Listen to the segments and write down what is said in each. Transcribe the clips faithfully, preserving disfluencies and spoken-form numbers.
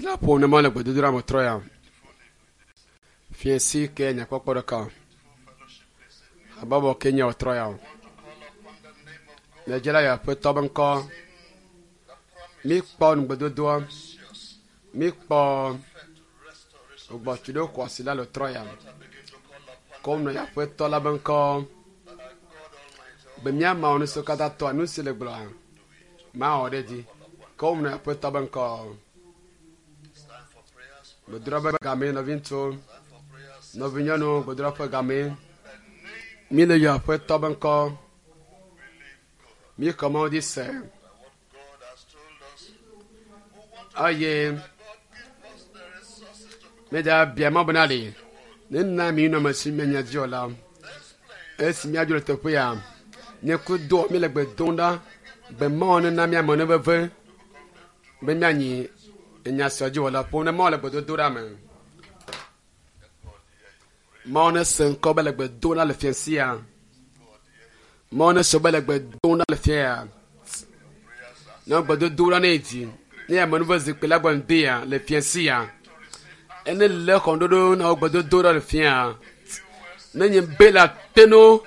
La ƒo ne ma le gbedodoɖa me trɔ ya. Fiẽsi ke nyakpɔkpɔ ɖeka. Habɔbɔ ke nye wòtrɔ ya o. Miedze la ya aƒetɔ be ŋkɔ. Míkpɔ nugbedodoa. Míkpɔ gbɔtsu ɖe xɔ asi la le trɔ ya. Ko nɔ ya aƒetɔ la be ŋkɔ. Be míama nu siwo katã tɔa nu si le gblɔa. Mawɔ ɖe dzi. Ko nɔ ya aƒetɔ be ŋkɔ. It's time for prayers. Gbedoɖa be game nɔviŋutsuwo. Time for prayers. Nɔvinyɔnuwo gbedoɖa ƒe game. The name Míle yɔ aƒetɔ be ŋkɔ. believe God. Míxɔ Mawu dzi se. That what God has told us. We want to Eye that God give us the resources to become míedza bia Mawu bena ɖe nena mi nɔme si míenya dzi o la. this place. Esi míadzo le teƒe ya, nye kudo míle gbe dom ɖa be Mawu nena míame nu veve be míanyi enya sia dzi wɔla ƒom ne Mawu le gbedodo ɖa me. Mawu ne se ŋkɔ be le gbe dom ɖa le fiẽ sia. Mawu ne se be le gbe dom ɖa le fiẽ ya. Ne gbedodo ɖa ne yi dzi ne ame nu ve zikpui la gbɔ ŋdi ya le fiẽ sia. Ene le xɔŋɖoɖo na wo gbedodo ɖa le fiẽ ya. Ne nye be le ateno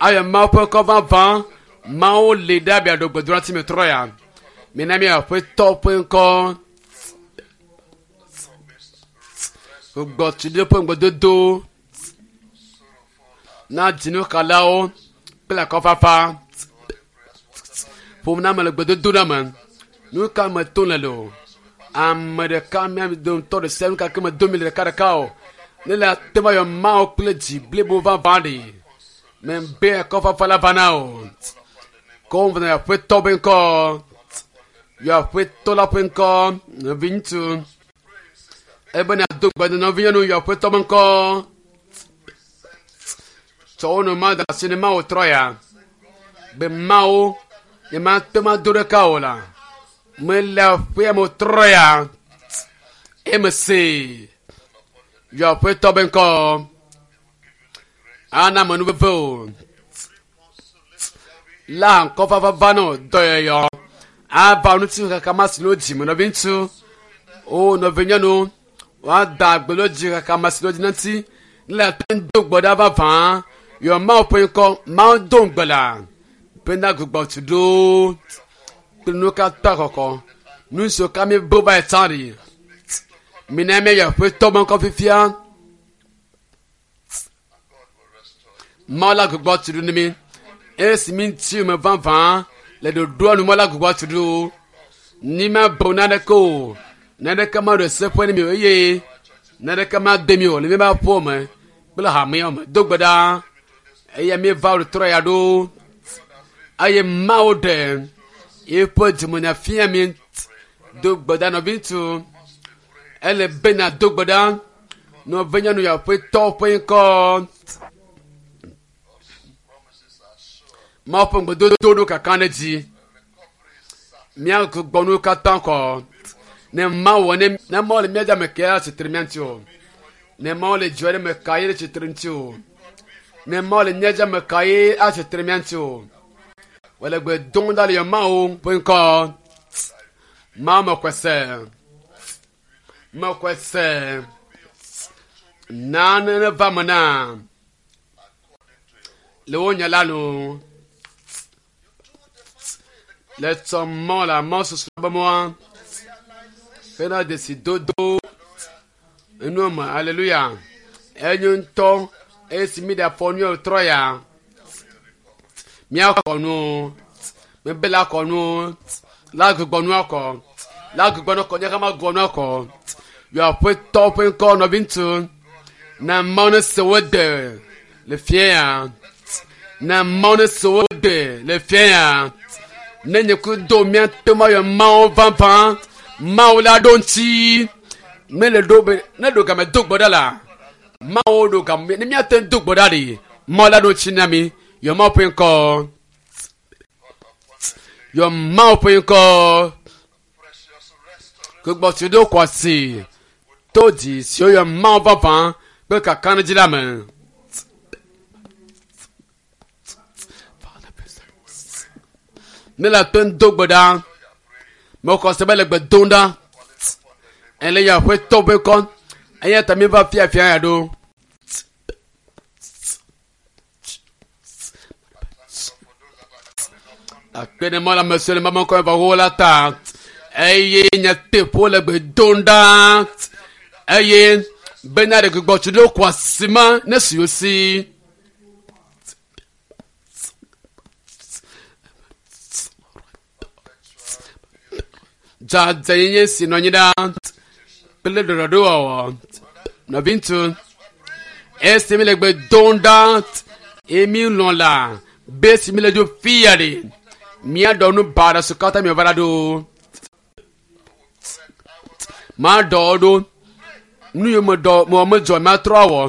ayɔ Mawu ƒe kɔ vavã Mawu li ɖe abia ɖo gbedoɖa ti me trɔ ya. Mina mía aƒetɔ ƒe ŋkɔ. Gbɔtsu ɖe ƒe ŋgbedodo na dzinuxalawo kple akɔfafa. Ƒom na ame le gbedodo ɖa me. Nu ka me tom le le o? Ame ɖeka mía dometɔ ɖe sia nu ka ke me dom mi le ɖeka ɖeka o. Ne le ate va yɔ Mawu kple dzi blibo vavã ɖi. Me be akɔfafa la va na o. Ko va na aƒetɔ be ŋkɔ. Yɔ aƒetɔ la ƒe ŋkɔ. Nɔviŋutsu. Ebe na do gbe na nɔvinyɔnu yɔ aƒetɔ be ŋkɔ. Tsɔ wo nɔ ma da asi ne Mawu trɔ ya. Be Mawu nye ma te ma do ɖeka o la. Mele aƒea me trɔ ya. Eme se. Yɔ aƒetɔ be ŋkɔ. Ana ame nu veve o. La ŋkɔfafa va na o dɔyɔyɔ. Ava ŋuti kaka ma si le wo dzime nɔviŋutsu. O nɔvinyɔnu. Woada agbe le wo dzi kaka ma si le wo dzi ŋuti. Ne le ate ŋu do gbe ɖa vavã. Yɔ Mawu ƒe ŋkɔ. Mawu do ŋugbe la. Bena gbugbɔ tu ɖo. Kple nu katã kɔkɔ. Nu siwo ka mi bo va yi tsã ɖi. Mina míayɔ aƒetɔ be ŋkɔ fifia. Mawu la gbugbɔ tu ɖo ne mi. Esi mi ŋuti me vavã le ɖoɖoa nu Mawu la gbugbɔ tu ɖo. Ni ma bo naneke o. Naneke ma ɖo seƒe ne mi o eye naneke ma de mi o le míaƒe aƒewo me kple hamea me. Do gbe ɖa eye míeva wo trɔ ya ɖo eye Mawu ɖe eƒe dzimenya fia mi. Do gbe ɖa nɔviŋutsu. Ele be na do gbe ɖa nɔvinyɔnu ya aƒetɔ ƒe ŋkɔ. Promises are sure. Mawu ƒe ŋugbedodo ɖo kaka ɖe dzi. Míagbugbɔ nuwo katã kɔ. Ne Mawu wɔ ne ne Mawu le mía dzi ame ke atsitre mía ŋuti o. Ne Mawu le dziwɔ ɖe me ka ye ɖe tsitre ŋuti o. Ne Mawu le mía dzi ame ka ye atsitre mía ŋuti o. Wòle gbe dom ɖa le yɔ Mawu ƒe ŋkɔ. Mawu mexɔe se. Mexɔe se. Nane neva me na. Le wo nya la nu. Le tsɔ mɔ la mɔ susu be mɔa. Hena desi dodo. Enu me aleluya. Enyo ŋutɔ esi mi ɖe afɔ nu trɔ ya. Míakɔ nu. Mebe la kɔ nu. La gbugbɔ nu akɔ. La gbugbɔ nu kɔ nye hã ma gbugbɔ nu akɔ. Yɔ aƒetɔ ƒe ŋkɔ nɔviŋutsu. Na Mawu ne se wo de le fia ya. Na Mawu ne se wo de le fia ya. Ne nye ku do mía te ma yɔ Mawu vavã. Mawu la ɖo ŋuti. Mele ɖo be ne ɖo game do gbe ɖa la. Mawu ɖo game ne míate ŋu do gbe ɖa ɖi. Mawu la ɖo ŋuti na mi. Yɔ Mawu ƒe ŋkɔ. Yɔ Mawu ƒe ŋkɔ. Precious restoration. Gbɔgbɔ ɖo kɔ asi. To dzi siwo yɔ Mawu vavã kple kakaɖedzi la me. Ne le ate ŋu do gbe ɖa. Mexɔ se be le gbe dom ɖa. Ele ya ƒe tɔ ƒe kɔ eya ta mi va fiafia ya ɖo. Akpe ɖe mɔ la me sɔ le mama kɔ va wo la ta eye nyateƒe le gbe dom ɖa eye bena ɖe gbugbɔ tsi ɖo kɔ asima ne si wo si. Dzadzɛnyenye si nɔ anyi ɖa kple ɖɔɖɔɖowɔwɔ nɔviŋutsu esi mi le gbe dom ɖa eye mi lɔ̃ la be si mi le dzo fia ɖe míaɖɔ nu baɖa si katã mi va la ɖo maɖɔ ɖo nu yi me dɔ me medzɔ matrɔ awɔ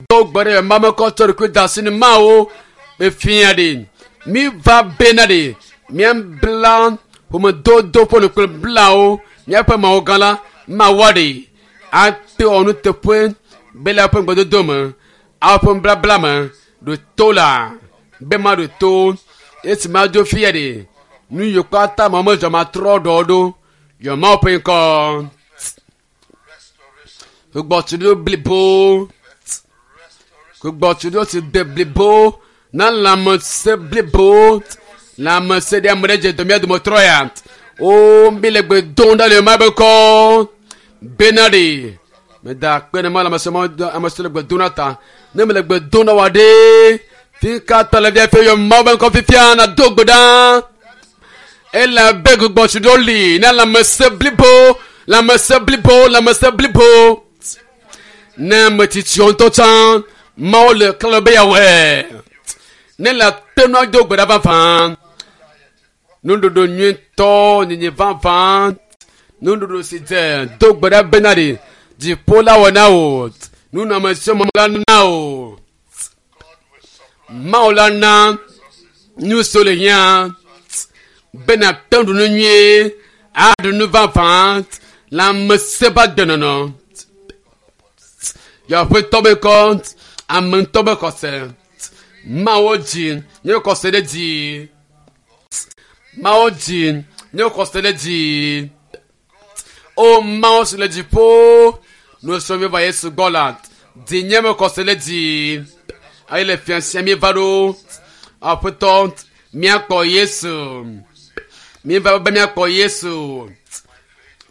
do gbe ɖe mame kɔ tsɔ ɖokui da asi ne mawo be fia ɖe mi va bena ɖe míabla ƒomedodo ƒe nu kple blawo míaƒe mawo gã la mawɔ ɖe ate wɔ nuteƒe be le eƒe ŋgbedodo me aƒe nublabla me ɖo to la be ma ɖo to esi ma dzo fia ɖe nu yiwo katã ma medzɔ matrɔ ɖɔ ɖo yɔ mawo ƒe ŋkɔ gbugbɔtuɖo blibo gbugbɔtuɖo si de blibo na lãmesẽ blibo lãmesẽ ɖe ame ɖe dze dɔ mía dometɔ ya o mi le gbe dom ɖa le ma be kɔ bena ɖe meda akpe ne ma lãmesẽ ma ame si le gbe dom ɖa ta ne me le gbe dom ɖa wa ɖe fi ka tɔ le fia yɔ mawo be ŋkɔ fifia na do gbe ɖa ele abe gbugbɔtuɖo li na lãmesẽ blibo lãmesẽ blibo lãmesẽ blibo ne ametsitsiwo ŋutɔ tsã mawo le klɔ be yeawɔe ne le ate nu ado gbe ɖa vavã nuɖuɖu nyuitɔ nyinyi vavã nuɖuɖu si dze do gbe ɖa bena ɖi dziƒo la wɔ na wò nunɔamesiwo la na wò mawu la na nu siwo le hiã bena te ɖu nu nyuie aɖu nu vavã lãmesẽ ƒe agbenɔnɔ yeaƒetɔ be kɔ ame ŋutɔ be xɔse mawo dzi nye xɔse ɖe dzi mawo dzi nye xɔse ɖe dzi o mawo si le dziƒo nusrɔ̃ mi va yesu gbɔ la dzi nye me xɔse ɖe dzi eye le fia sia mi va ɖo aƒetɔ míakpɔ yesu mi va be míakpɔ yesu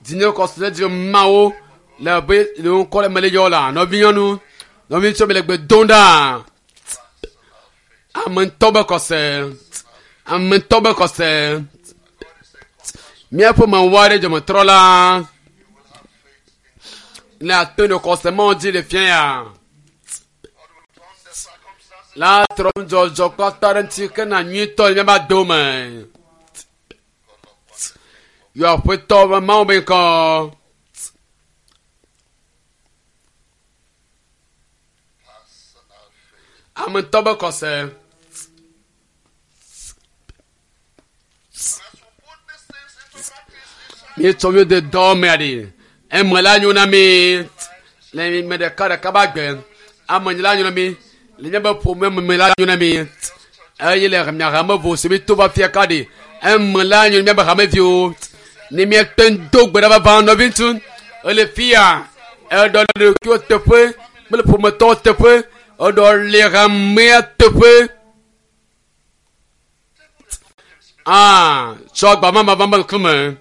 dzi nye xɔse ɖe dzi mawo le be le ŋkɔ le mele yɔ la nɔvinyɔnu nɔviŋutsu mi le gbe dom ɖa ame ŋutɔ be xɔse ame ŋutɔ be xɔse míaƒe mawɔ aɖe dzɔmetrɔ la le ate ɖe xɔse mawo dzi le fia ya la trɔ nudzɔdzɔ kpata ɖe ŋuti ke na nyuitɔ le míaƒe dome yɔ aƒetɔ be mawu be ŋkɔ. Personal faith. Ame ŋutɔ be xɔse. As we put these things into practice, it shall Míetsɔ míwo de dɔ mea ɖi. Eme la nyo na mi. Le me ɖeka ɖeka ba gbe. Ame nyi la nyo na mi. Le míaƒe ƒome me la nyo na mi. Eye le mia hame vo si mi to va fia ka ɖi. Eme la nyo na míaƒe hameviwo. Ne míete ŋu do gbe ɖa vavã nɔviŋutsu. Ele fia. Eɖɔ le ɖokuiwo teƒe kple ƒometɔwo teƒe. Eɖɔ le hamea teƒe. Ah, tsɔ agbamama va me ŋkume.